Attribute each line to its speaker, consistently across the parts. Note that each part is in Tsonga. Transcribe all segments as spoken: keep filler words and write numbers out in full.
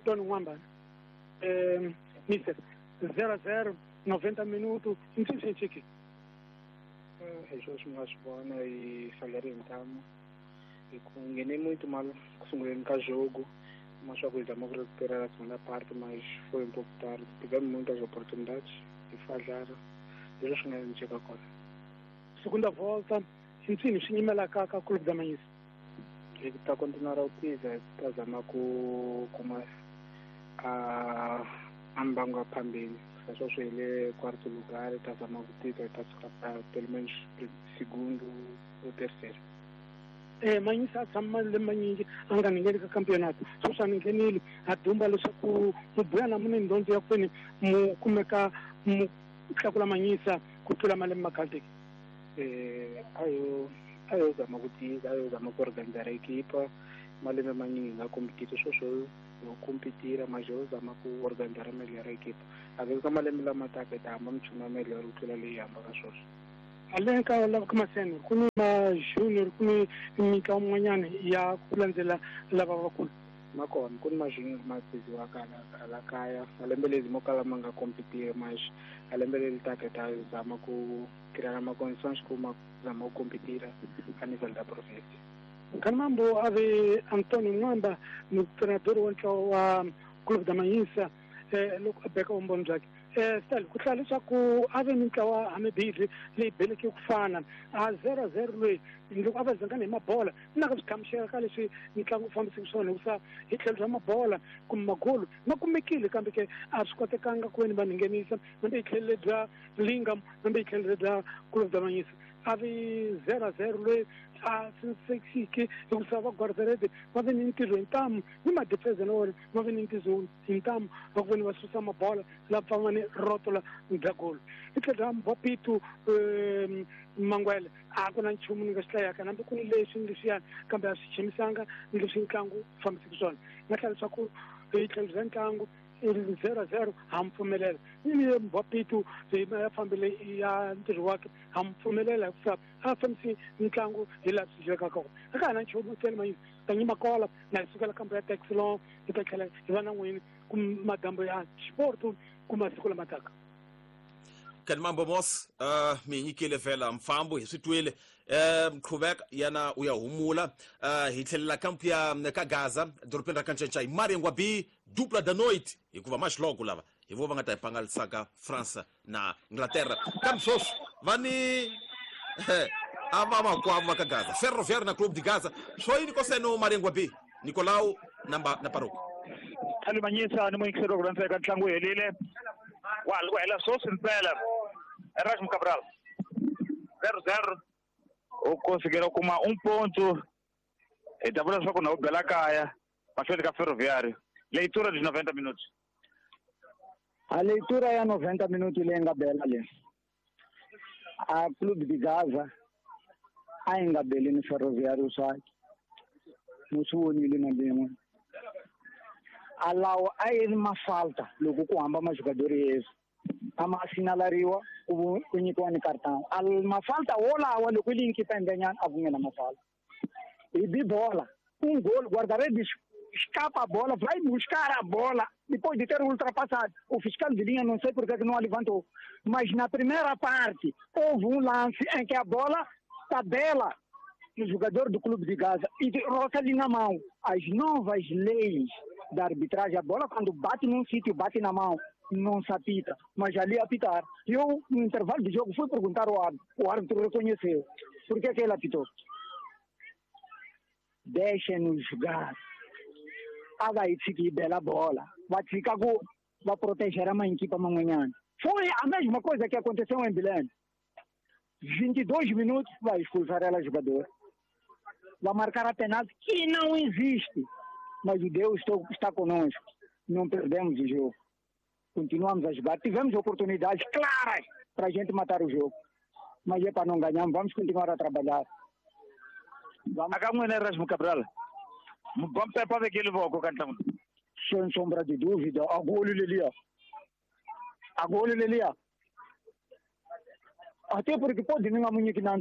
Speaker 1: Antônio Mwamba eh, mister zero a zero noventa minutos msisechiki
Speaker 2: hi swi nga swi vona hi falhare ntamu hi ku nghene muito mal ku sunguleni ka jogo, mas só que zama ku recuperar a segunda parte, mas foi um pouco tarde. Tivemos muitas oportunidades e falharam. Leswi swi nga endleka kona.
Speaker 1: Segunda volta ntsini swi nyimela ka ka Clube da Manhiça.
Speaker 2: Hi ta continuar a utiza, hi ta zama ku kuma a a mbangu phambili. Sweswo hi le quarto lugar, hi ta zama ku tika, hi ta suka pelo menos segundo ou terceiro.
Speaker 1: Eh, Manhiça a tshama malembe manyingi a nga ngheni ka campeonato sweswi a ni nghenile a dumba leswaku mubuya na mune ndondzo ya kwini mu kumeka mu tlakula Manhiça ku tlula malembe ma khale.
Speaker 2: Eh, a yo a yo zama ku tika, a yo zama ku organizar equipa malembe manyingi nga competita sweswo yo competira, mas yo zama ku organizar melhor equipa. A ve ka malembe lama taka hi ta hamba minchumu ya melhor ku tlula leyi hambaka sweswo.
Speaker 1: Ale ka lava ka maseno ku ni ma junior ku ni mitlawa min'wanyana ya ku landzela lava vakulu.
Speaker 2: Ma kona ku ni ma junior ma biziwaka hala kaya malembe lezi mo kala ma nga competiri, mas a lembe leri taka hi ta zama ku criar ma condições ku ma zama ku competira a nível da província.
Speaker 1: Kanambo a ve Antônio Mwamba treinador wa ntlawa wa Clube da Manhiça eh, loko a beka vumbhoni byakhe. Eh, Stal ku hlaya leswaku a ve mintlawa hamibirhi leyi beleke ku fana a zero a zero loyi loko a va zangana hi mabola na ka swi hlamusela ka leswi mitlangu wu fambiseke swona hikusa hi tlhelo ra mabola kumbe magolo ma kumekile kambe ke a swi kotekanga ku veni va nghenisa hambi hi tlhelo bya Lingam hambi hi tlhelo bya Clube da Manhiça a vi zero a zero loyi a sensekiki hikusa va guarda-redes va ve ni ntirho hi ntamu ni madefense na wona va ve ni ntirho hi ntamu va ku veni va susa mabola la pfama ni rotola bya golo. Hi tlhelo ra Mbopitu Mangwele a ku na nchumu ni nga swi hlayaka hambi ku ni leswi ni leswiyani kambe a swi chimisanga ni leswi ntlangu wu fambiseke swona. Nga hlaya leswaku hi tlhelo bya ntlangu zero a zero ha mi pfumelela ni Mbopitu ya fambile ya ntirho wakhe ha mi pfumelela hikusa a fambisi ntlangu hi laha swi dyekaka kona. A ka ha na nchumu ntsena Manhiça ta nyima kola na hi sukela kambe ya Texlon hi ta tlhela hi va na n'wini ku madambo ya xiporto ku masiku lama taka.
Speaker 3: Kanimambo Mos uh, mi nyikile vhela mfambo hi swi twile um qhubeka yana u ya humula uh, hi tlhelela kampu ya ka Gaza dorobeni ra Kancanca hi Mariangwa B dupla da noite hikuva maxiloko lava hi vo va nga ta hi pangalisaka France na Inglaterra kambe sweswi va ni a va makwavo va ka Gaza Ferroviário na Clube de Gaza swo yini koseno Mariangwa B Nicolau na na Paroko
Speaker 4: Thali Manhiça ni muyingiseri wa ku landzeka ntlangu wu helile wa ku hela sweswi ntsena Erasmo Cabral zero zero u conseguiram kuma um ponto hi ta vula leswaku na u bela kaya mahlweni ka Ferroviário. Leitura de noventa minutos.
Speaker 5: A leitura ya noventa minutos leyi nga bela leyi a Clube de Gaza a yi nga beli ni Ferroviário swakhe ni swi vonile na lin'we a lawa a yi ri mafalta loko ku hamba majogador yesu a ma sinalariwa ku ku nyikiwa ni cartão a mafalta wolawa loko yi nkipa endlenyana a ku nghena mafalta hi bi bola um gol guarda-redes escapa a bola, vai buscar a bola depois de ter ultrapassado. O fiscal de linha não sei porque que não a levantou, mas na primeira parte houve um lance em que a bola tabela no jogador do Clube de Gaza e roça ali na mão. As novas leis da arbitragem, a bola quando bate num sítio, bate na mão, não se apita, mas ali apitar. Eu, no intervalo de jogo, fui perguntar ao árbitro, o árbitro reconheceu. Por que que ele apitou? Deixem-nos jogar. A vai ficar bela bola, vai ficar com, vai proteger a mãe equipa amanhã. Foi a mesma coisa que aconteceu em Belém. vinte e dois minutos vai expulsar ela jogador. Vai marcar a penalti que não existe. Mas o Deus está conosco. Não perdemos o jogo. Continuamos a jogar. Tivemos oportunidades claras para a gente matar o jogo. Mas é para não ganhar, vamos continuar a trabalhar. Vamos.
Speaker 4: Akamwene Erasmo Cabral. Vamos para aquele voco cantamos.
Speaker 5: Sem sombra de dúvida, agora Lelia. Agora Lelia. Até porque pode não amanhã que não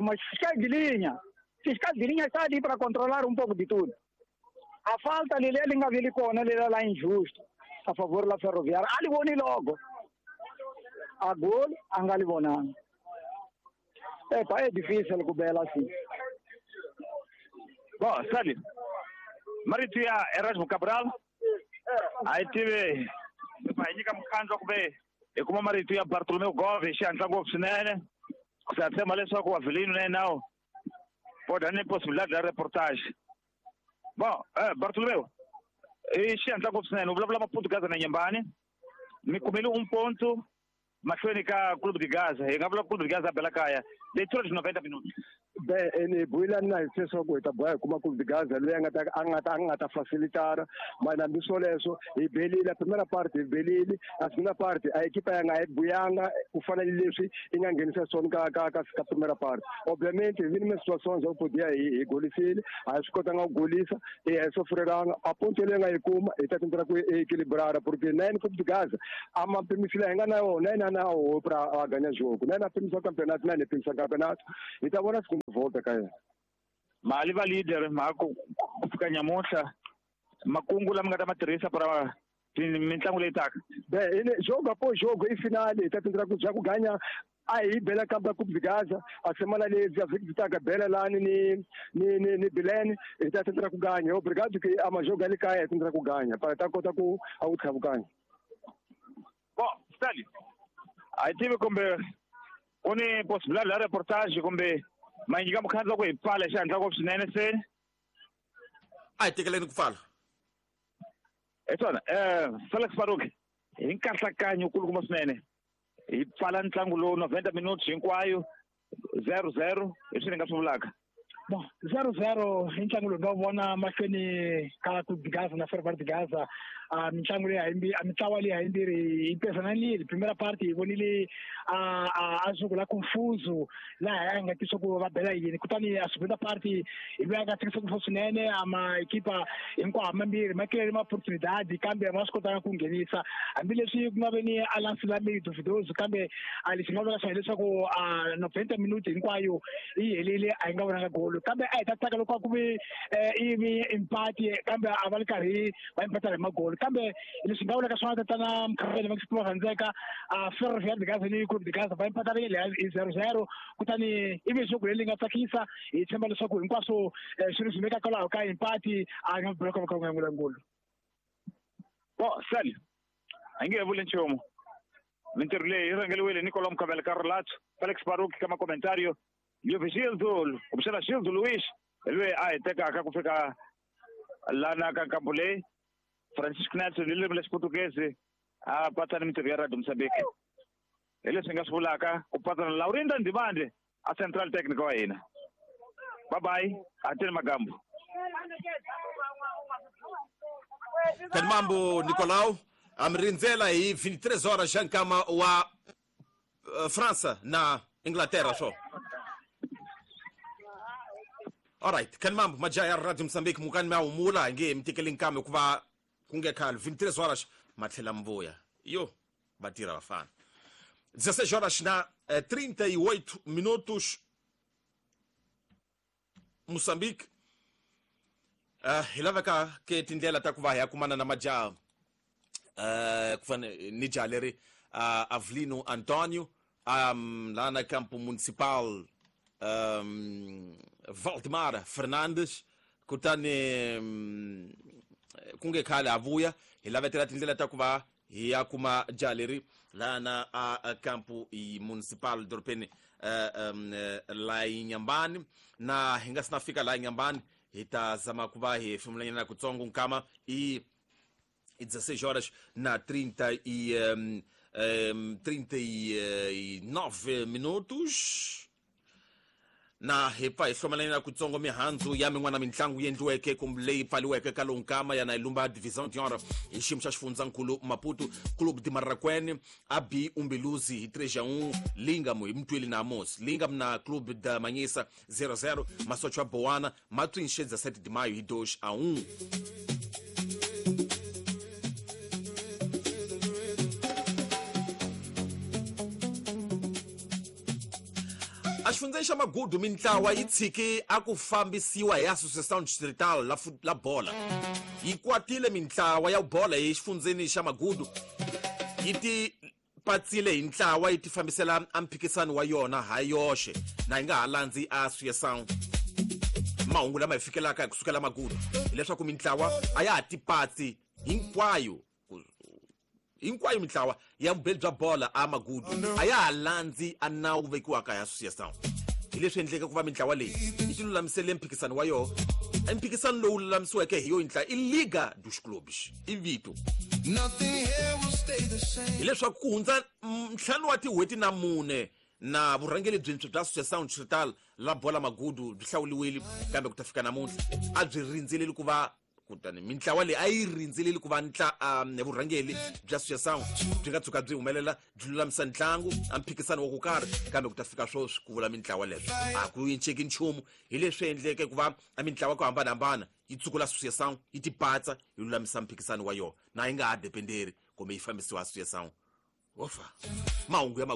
Speaker 5: mas fiscal de linha. Fiscal de linha está ali para controlar um pouco de tudo. A falta leliya li nga veli kona leliya la injusto a favor la Ferroviária a li voni logo. A gol a nga li vonanga. Epa, é difícil ku bela assim.
Speaker 4: Bom, sabe, marito ya Erasmo Cabral a yi tivi hi nyika mukhandlu kumbe hi kuma marito ya Bartolomeu Gomes xi hatla ngopfu swinene. Sa tshemba leswaku wa Avelino na yena pode nem possibilidade da reportagem. Bom, eh, Bartolomeu, i xi hatla ngopfu swinene u vulavula Maputu na Nyembani mi kumile um ponto mahlweni ka Clube de Gaza. Hi nga vula Clube de Gaza a bela kaya leitura de noventa minutos.
Speaker 6: Bem, ene buila na leswaku hi ta boha hi kuma Clube de Gaza loyi a nga ta a nga ta a nga ta facilitar, mas hambi swoleswo hi belile a primera parte hi belile a segunda parte a equipa ya nga yi buyanga ku fana ni leswi yi nga nghenisa swona ka ka ka ka primera parte. Obviamente hi vile na situations ya ku podia hi hi golisile a hi swi kotanga ku golisa e a hi sofrelanga a ponto leyi nga yi kuma hi ta tendra ku equilibrar porque na yena Clube de Gaza a ma pimisile hi nga na yona na yena na ho pra a ganha jogo na yena a pimisa campeonato na yena pimisa campeonato hi ta vona segunda volta ka yena.
Speaker 4: Mali va leader ma ku fika nyamuhla makungu lama nga ta ma tirhisa para mitlangu leyi taka.
Speaker 6: Bem, ene jogo após jogo e finale ta tendra ku ja ku ganha a hi bela kampa Clube de Gaza a semana leyi a vhiki taka bela lani ni ni ni ni Belém hi ta tendra ku ganha. Obrigado que a majogo ali kaya hi tendra ku ganha para ta kota ku a wu tlhava ganha.
Speaker 4: Bom, Stanley, a hi tivi kumbe ku ni possibilidade ya reportage kumbe ma nyika mukhandlu ku hi pfala xi hatla ngopfu swinene se
Speaker 3: a hi tekeleni ku pfala.
Speaker 4: Hi swona um Felix Faruki hi nkahlankanyo kulukumba swinene hi pfala ntlangu lowu noventa minutes hinkwayo zero zero hi swi ni nga swi vulaka.
Speaker 1: Bom, zero zero i ntlangu lowu nga wu vona mahlweni ka Clube de Gaza na Ferroviário de Gaza. A mitlangu leyi hayimbirhi a mitlawa leyi hayimbirhi yi pesananile. Primera parte hi vonile a a jogo la confuso laha a nga tisa ku va bela yini, kutani a segunda parte hi loyi a nga tsakisa ku swinene a ma equipa hinkwawo mambirhi ma kirele ma oportunidade kambe ma swi kotanga ku nghenisa hambileswi ku nga ve ni a lance la meio duvidoso kambe a lexi nga vula swona hileswaku a noventa minuti hinkwayo yi helile a yi nga vonanga golo kambe a hi ta tsaka loko a ku ve ivi empate kambe a va ri karhi va empatela hi magolo kambe leswi nga vulaka swona tatana Mkhavele va va rhandzeka a Ferroviário de Gaza ni Clube de Gaza va empatarile hi zero zero kutani ivi jogo leri nga tsakisa hi tshemba leswaku hinkwaswo swi ri swimeka kwalaho ka empate a nga bulaka va ka nga ngulangulu.
Speaker 4: Bom, Sally, a nge vuli nchumu. Mintirho leyi yi rhangeriwile Nicolau Mkhavele ka relato, Felix Baruch ka makomentario, Leovigildo kumbexana Gildo Luiz loyi a hi tekaka ku fika lana ka nkambu leyi, Francisco Nelson hi ririmi ra Xiputukezi a patsa ni mintirho ya Radio Mozambique. Hi leswi hi nga swi vulaka ku patsa na Laurinda Ndimande a Central Technical wa hina. Bye bye, ateni magambo.
Speaker 3: Kanimambo Nicolau a mi rindzela hi vinte e três horas xa nkama wa uh, França na Inglaterra swo. Alright, kanimambo majaha ya Radio Mozambique mukani mi a humula hi nge mi tekeli nkama hikuva ku nge khale vinte e três horas ma tlhela mi vuya. Yo, va tirha vafana. dezesseis horas na eh, trinta e oito minutos. Moçambique uh, hi laveka ke tindlela ta ku va hi ya kumana na majaha uh, ku fana ni jaha leri uh, Avelino Antonio um, lá na campo municipal um, Valdemar Fernandes kutani um, ku nge khale a vuya hi lavetela tindlela ta ku va hi ya kuma jaha leri laha na a campo municipal dorobeni uh, um, la Inhambane na hi nga si na fika laha Inhambane hi ta zama ku va hi hefemulanyana kutsongo nkama i i dezesseis horas na trinta e um, um, trinta e nove minutos na hi pfa hi hlomelanyana kutsongo mihandzu ya min'wana mitlangu yi endliweke kumbe leyi pfaliweke ka lowu nkama yana hi lumba Divisão de Honra hi xiyimo xa xifundzankulu Maputo Clube de Marraquene a b Umbeluzi hi três a um Lingamo hi Mtweli na Amos Lingamo na Clube da Manhissa zero a zero Masocho a Boana Matrinche dezessete de maio hi dois a um. Exifundzeni xa Magudu mintlawa yi tshiki a ku fambisiwa hi Associação Distrital la, la bola. Yi kwatile mintlawa ya bola hi xifundzeni xa Magudu yi ti patsile hi ntlawa yi ti fambisela a mphikisano wa yona ha yoxe na yi nga ha landzi Associação. Mahungu lama hi fikelaka hi kusukela Magudu hileswaku mintlawa a ya ha tipatsi hinkwayo hinkwayo mintlawa ya vubeli bya bola a Magudu a ya ha landzi a nawu vekiwaka hi Associação. Hi leswi endleke ku va mintlawa leyi yi ti lulamisele mphikisano wa yona. Mphikisano lowu lulamisiweke hi yo yintla i Liga dos Clubes i vito. Hileswaku ku hundza ntlhanu wa tin'hweti na mune na vurhangeri byintshwa bya Associação Distrital la bola Magudu byi hlawuriwile, kambe ku ta fika namuntlha a byi rindzeleli ku va kutani mintlawa leyi a yi rindzeleli ku va ntla um, vurhangeri bya Associação byi nga tshuka byi humelela byi lulamisa ntlangu a mphikisano wa ku karhi, kambe ku ta fika sweswi ku vula mintlawa leswo a ku cinceki nchumu. Hi leswi endleke ku va a mintlawa ku hambanahambana yi tsukula Associação yi tipatsa yi lulamisa mphikisano wa yona na yi nga ha dependeri kumbe yi fambisiwa Associação. Wofa mahungu ya